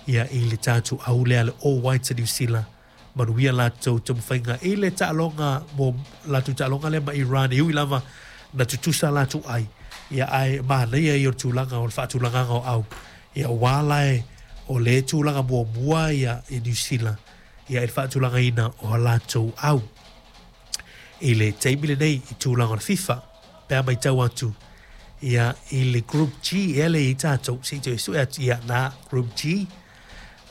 Ia i le tatou au lea le All Whites a Niu Sila, manuia latou taumafaiga i le taaloga mo latou taaloga lea ma Iran, e ui lava na tutusa latou ai, ia ae manaia ia o le tulaga o le faatulagaga o au, ia aua la e o le tulaga muamua ia i Niu Sila ia i le faatulagaina o a latou au i le taimi lenei i tulaga o le FIFA pe a matau atu ia i le Group G ea le i tatou se i toe sue atu ia na Group G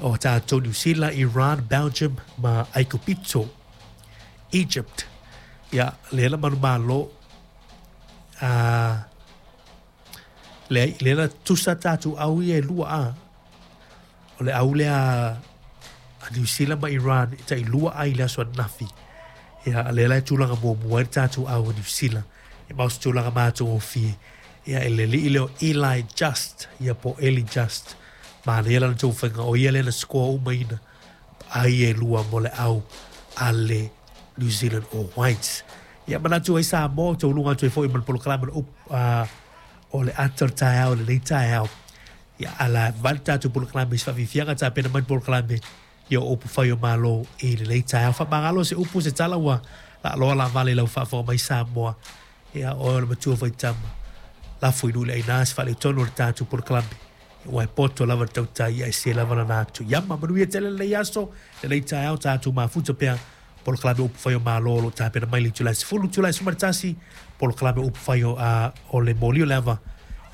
o tatou Niu Sila, Iran, Belgium ma Aikupito, Egypt. Ia lea na manumalo a lea, lea na tusa tatou au ia e lua a o le au lea a Niu Sila ma Iran e tai lua ai le aso ananafi. Ia lea la e tulaga muamua ai le tatou au a Niu Sila e ma o se tulaga matagofie. Ia e le alii lea o Eli Just, ia po o Eli Just. Manaia lana taumafaiga, o ia lea na score umaina ai e lua mo le au a le New Zealand All Whites. Ia manatu ai Samoa, tauluga atu ai foi ma le polokalame o o le ata o le taeao i lenei taeao. Ia ala vale tatou polokalame i se faafiafiaga tapena mai le polokalame ia o upu fai o Malo i lenei taeao. Faamagalo se upu se tala ua laaloa laavale i lau faafofoga mai Samoa. Ia oe o le matua faitama. Lafo i nuu le aina se faaletonu o le tatou polokalame. Ua e poto lava le tautai ia e se lava lana atu. Ia ma manuia tele lenei aso, lenei taeao tatou mafuta pea polokalame upu fai o Malo o lo o tapena mai le itula e 10, itula e 11, polokalame upu fai o, o le moli o le ava.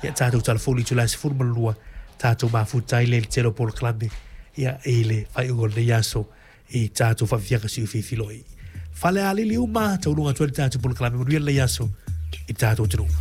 Ia tatou talafou i le itula e 12, tatou mafuta ai le tele o polokalame ia i le faaiuga o lenei aso i tatou faafiafiaga siufifi. Falealili uma, tauluga atu ai le tatou polokalame, manuia lenei aso i tatou atunuu.